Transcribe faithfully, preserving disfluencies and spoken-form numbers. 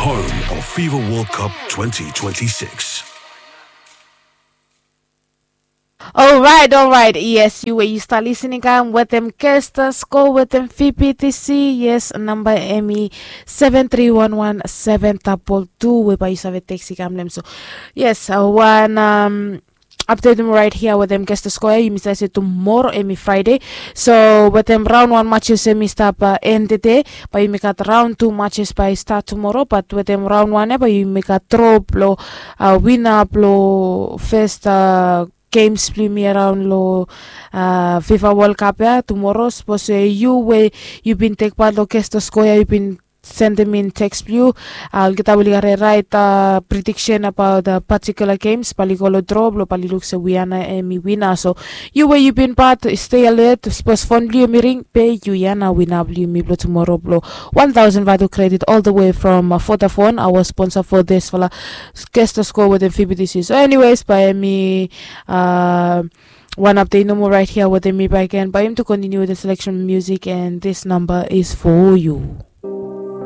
Home of FIFA World Cup twenty twenty-six. Alright, alright. Yes, yu we yu stap listening kam wetem Kesta Sko wetem V P T C. Yes, namba em i seven three one one seven double two we bae yu save teksi kam nem so. Yes, uh, wan um, update mo right here wetem Kesta Sko ya. Yumi save se tumoro em i Friday. So wetem raun wan matches em i stap uh, end tede. Bae yumi gat raun tu matches bae i stat tumoro, bat wetem raun wan ya bae yumi gat dro blo uh, wina blo fes uh, games blo yumi araon lo uh, fifa world cup ya tumoro. Sapos we yu we yu bin tek pat lo Kesta Sko ya yu bin sendem in teks blo yu, olgeta we oli gat rait uh, prediction abaot uh, particular games bae oli go lo dro blo bae oli luk se wi ya nao em i wina. So yu we yu bin pat, stay alert. Sapos fon blo yu em i ring, be yu ya nao wina blo yumi blo tumoro blo one thousand vatu credit all the way from uh, Vodafone, our sponsor for this fala Kesta Sko wetem V P T C. So anyways, bae mi uh, wan update nomo right here wetem mi bae ken bae yumi tu continue with the selection music and this number is for you.